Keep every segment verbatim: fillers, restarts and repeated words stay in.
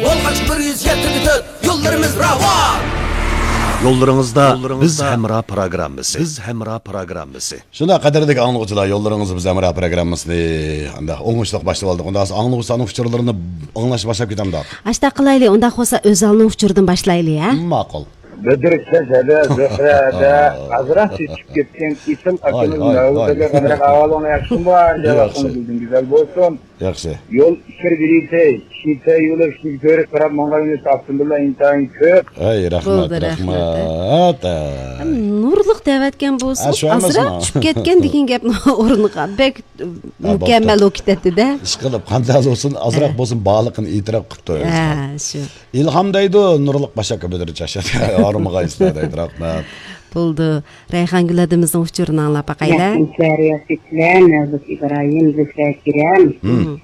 بولغاچ بىر يۈز يەتتە پۈتۈن يوللىرىمىز راۋان. يوللىرىڭىزدا بىز ھەمراھ پروگراممىسى. بىز ھەمراھ پروگراممىسى. شۇنداق، قەدىرلىك ئاڭلىغۇچىلار، يوللىرىڭىزدا بىز ھەمراھ پروگراممىسىنى ئانداق ئوڭۇشلۇق باشلىۋالدۇق. ئۇنداق بولسا ئاڭلىغۇچىلارنىڭ ئۇچۇرلىرىنى ئاڭلاش باشلاپ كېتەمدۇق؟ ئاشۇنداق قىلايلى، ئۇنداق بولسا ئۆزەلنىڭ ئۇچۇرىدىن باشلايلى، ھە؟ ماقۇل. بەدرۇششا دەدە، زۆھرە دەدە، ئازراق چۆچۈپ كەتكەن ئېسىل ئاكىمىز مەۋلۇت ئاكا، قانداق ئەھۋالىڭلار، ياخشىمۇ؟ ھاجا ۋاقتىڭىز گۈزەل بولسۇن. ياخشى. يول ئىچكىرى بېرىسەي، شىتە يولى ئىچىگە كۆرۈپ قاراپ ماڭغان ئاپتوموبىللار ئىنتايىن كۆپ. ئەي، رەھمەت، بولدى، رەھمەت. رەھمەت. ھەم نۇرلۇق دەۋەتكەن بولسىمۇ، ئاشۇ ئەمەسمۇ؟ ئازراق چۈشۈپ كەتكەن دېگەن گەپنىڭ ئورنىغا بەك مۇكەممەل بولۇپ كېتەتتى-دە. ئىشقىلىپ، قانداق بولسۇن، ئازراق بولسۇن، بارلىقىنى ئېتىراپ قىپتۇ ئۆزى. ھە، شۇ. ئىلھام دەيدۇ، نۇرلۇق باش ئاكا بۈدۈر چاچ. ھارمىغايسىلەر دەيدۇ، رەھمەت. بولدى. رەيھانگۈل ھەدىمىزنىڭ ئۇچۇرىنى ئاڭلاپ باقايلى. رەھمەتلەر ياخشى كېلەم، مەۋلۇت ئىبراھىم، زۆھرە كېرەم. مم.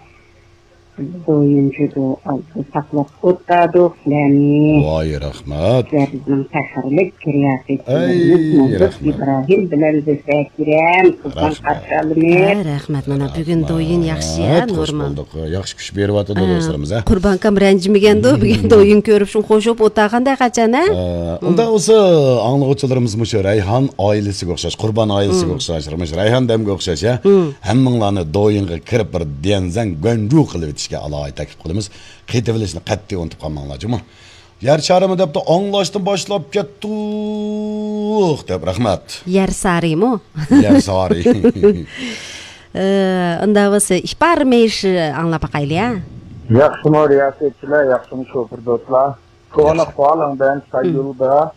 دويۇنچۇ دو ئالدى ساقلاپ ئولتۇردۇق سىلەرنى. ۋاي، رەھمەت. سىلەر بىزنىڭ پەخىرلىك رىياسەتچىلىرىمىز ئەي، مەۋلۇت رەھمەت. ئىبراھىم بىلەن زۆھرە كېرەم. قۇربان رەھمەت. قارشى ئالىمىز. ھە، رەھمەت. مانا بۈگۈن دويۇن ياخشى، ھە، رەھمەت. خوش نورمال. بولدۇق. ياخشى كۈچ بېرىۋاتىدۇ ھە، دوستلىرىمىز، ھە. قۇربان ئاكام رەنجىمىگەندۇ، بۈگۈن دويۇن كۆرۈپ شۇ خوش بولۇپ ئولتۇرغاندا قاچان، ھە؟ ھە، ئۇنداق بولسا ئاڭلىغۇچىلىرىمىز مۇشۇ رەيھان ئائىلىسىگە ئوخشاش، قۇربان ئائىلىسىگە ئوخشاش، مۇشۇ رەيھان دەمگە ئوخشاش، ھە؟ ھەممىڭلارنى دويۇنغا كىرىپ بىر ديەنزەن گۇەنجۇ قىلىۋېتىشكە ئالاھىدە تەكلىپ قىلىمىز. قېتىۋېلىشنى قەتئىي ئۇنتۇپ قالماڭلار، جۇمۇ. يەر شارىمۇ دەپتۇ، ئاڭلاشتىن باشلاپ كەتتۇق دەپ، رەھمەت. يەر سارىمۇ؟ يەر سارى. ئى، ئۇنداق بولسا، ئىپار مېيىش ئاڭلاپ باقايلى، ھە؟ ياخشىمۇ رىياسەتچىلەر، ياخشىمۇ شوپۇر دوستلار؟ كونا ئاقساقال بىلەن ساي يولىدا،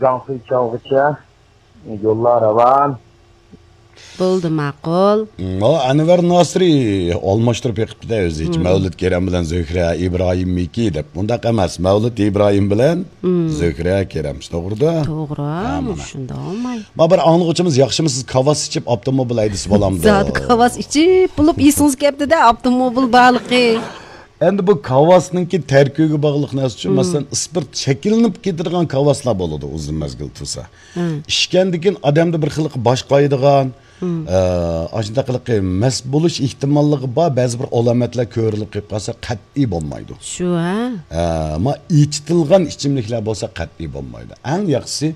جاڭخۇي چاۋغىچە يوللار راۋان. بولدى، ماقۇل. مم، ئەنۋەر ناسىرى ئالماشتۇرۇپ بېقىپتۇ-دە ئۆزى. مم. مەۋلۇت كېرەم بىلەن زۆھرە ئىبراھىمنىڭكى دەپ. ئۇنداق ئەمەس. مەۋلۇت ئىبراھىم بىلەن زۆھرە كېرەم. توغرىدا؟ توغرا، ھە، مانا. شۇنداق بولماي. ما بىر ئاڭلىغۇچىمىز، ياخشىمۇ سىز كاۋاس ئىچىپ ئاپتوموبىل ھەيدىسە بولامدۇ؟ زادى كاۋاس ئىچىپ بولۇپ ئېسىڭىز كەپتۇ-دە ئاپتوموبىل بارلىقى. ئەمدى بۇ كاۋاسنىڭكى تەركىبىگە باغلىق نەرسە ئۈچۈن، مم، مەسىلەن، ئىسپىرت شەكىللىنىپ كېتىدىغان كاۋاسلار بولىدۇ، ئۇزۇن مەزگىل تۇرسا. مم. ئىچكەندىن كېيىن ئادەمدە بىر خىلقى باش قايىدىغان، مم، ئە، ئاشۇنداقلىقى مەست بولۇش ئېھتىماللىقى بار، بەزى بىر ئالامەتلەر كۆرۈلۈپ قېلىپ قالسا قەتئىي بولمايدۇ. شۇ، ھە؟ ئە، ما ئېچىتىلغان ئىچىملىكلەر بولسا قەتئىي بولمايدۇ. ئەڭ ياخشىسى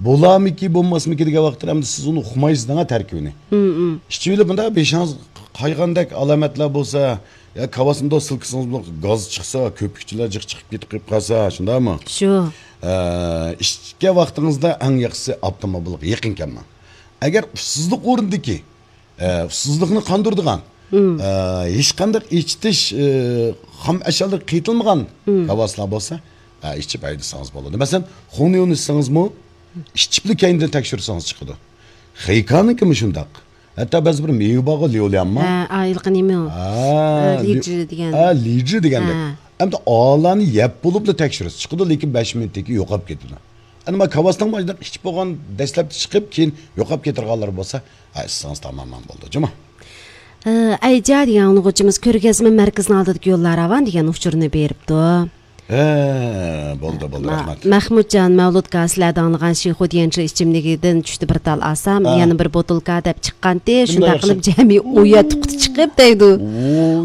بولارمىكى، بولماسمىكى دېگەن ۋاقىتتا ئەمدى سىز ئۇنى ئۇقمايسىز دەڭە تەركىبىنى. مم، مم. ئىچىۋېلىپ مۇنداق بېشىڭىز قايغاندەك ئالامەتلەر بولسا، يا كاۋاسنى سىلكىسىڭىز بولۇپ گاز چىقسا، كۆپۈكچىلەر جىق چىقىپ كېتىپ قېلىپ قالسا، شۇنداقمۇ؟ شۇ. ئە، ئىچكەن ۋاقتىڭىزدا ئەڭ ياخشىسى ئاپتوموبىلغا يېقىن كەلمەڭ. ئەگەر ئۇسسۇزلۇق ئورنىدىكى، ئە، ئۇسسۇزلۇقنى قاندۇرىدىغان، مم، ئە، ھېچقانداق ئېچىتىش، ئە، خام ئەشيالىرى قېتىلمىغان، مم، كاۋاسلار بولسا، ئە، ئىچىپ ھەيدىسىڭىز بولىدۇ. مەسىلەن، خۇڭنيۇنى ئىچسىڭىزمۇ، ئىچىپلا كەينىدىن تەكشۈرسىڭىز چىقىدۇ. خېيكانىڭكىمۇ شۇنداق. ھەتتا بەزى بىر مېۋە بارغۇ، ليۇليانما؟ ھە، ھېلىقى نېمە ئۇ؟ ھە، ئە، لى-، لىجى دېگەن. ھە، لىجى دېگەندەك. ھە. ئەمدى ئالانى يەپ بولۇپلا تەكشۈرۈش چىقىدۇ، لېكىن بەش مىنۇتتىن كېيىن يوقاپ كېتىدۇ. ئەمما كاۋاسنىڭ مۇشۇنداق ئىچىپ بولغان، دەسلەپتە چىقىپ، كېيىن يوقاپ كېتىدىغانلىرى بولسا، ھە، ئىچسىڭىز تامامەن بولىدۇ، جۇمۇ. ئە، ئەيجا دېگەن ئاڭلىغۇچىمىز، كۆرگەزمە مەركىزىنىڭ ئالدىدىكى يوللار راۋان دېگەن ئۇچۇرنى بېرىپتۇ. ھە، بولدى، بولدى، ما-، رەھمەت. مەخمۇتجان، مەۋلۇتكا سىلەر داڭلىغان شىخۇ ديەنچى ئىچىملىكىدىن چۈشتى بىر تال ئالسام، ھە، يەنە بىر بوتۇلكا دەپ چىققانتى، شۇنداق قىلىپ جەمئىي ئون يەتتە قۇتا چىقىپ دەيدۇ.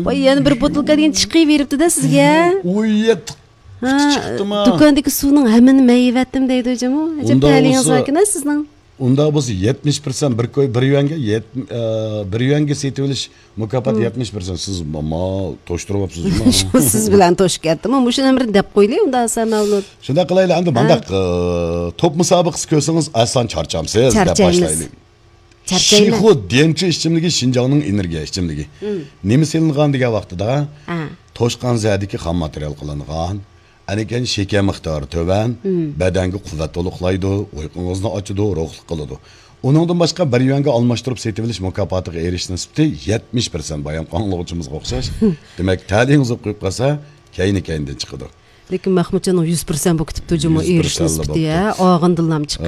ۋاي، يەنە بىر بوتۇلكا دېگەن چىقىۋېرىپتۇ-دە سىزگە. ئون يەتتە قۇتا چىقتىما؟ دۇكاندىكى سۇنىڭ ھەممىنى مېيىۋەتتىم دەيدۇ جۇمۇ. ئەجەب تەلىيىڭىز باركەن-ە سىزنىڭ. ئۇنداق بولسا يەتمىش پىرسەنت بىر كوي، بىر يۈەنگە يەت-، ئە، بىر يۈەنگە سېتىۋېلىش مۇكاپات يەتمىش پىرسەنت. سىز ما-، ما توشتۇرۇۋاپسىز جۇمۇ. سىز بىلەن توشۇپ كەتتىمۇ. مۇشۇنى بىر دەپ قويىلى ئۇندا ھەسەن مەۋلۇت. شۇنداق قىلايلى، ئەمدى مانداق، ئە، توپ مۇسابىقىسى كۆرسىڭىز ئاسان چارچامسىز دەپ باشلايلى. چارچايمىز. شىخۇ ديەنچى ئىچىملىكى شىنجاڭنىڭ ئېنېرگىيە ئىچىملىكى. نېمە سېلىنغان دېگەن ۋاقتىدا، توشقان زەدىكى خام ماتېرىيال قىلىنغان. ئەنىكەن شېكەر مىقدارى تۆۋەن، بەدەنگە قۇۋۋەت تولۇقلايدۇ، ئۇيقۇڭىزنى ئاچىدۇ، روھلۇق قىلىدۇ. ئۇنىڭدىن باشقا، بىر يۈەنگە ئالماشتۇرۇپ سېتىۋېلىش مۇكاپاتىغا ئېرىشىش نىسبىتى يەتمىش پىرسەنت، بايام ئاڭلىغۇچىمىزغا ئوخشاش. دېمەك، تەلىيىڭىز بولۇپ قويۇپ قالسا، كەينى-كەينىدىن چىقىدۇ. لېكىن مەخمۇتجاننىڭ يۈز پىرسەنت بولۇپ كېتىپتۇ جۇمۇ، ئېرىشىش نىسبىتى، ھە، ئاغىندىنلام چىقىپ.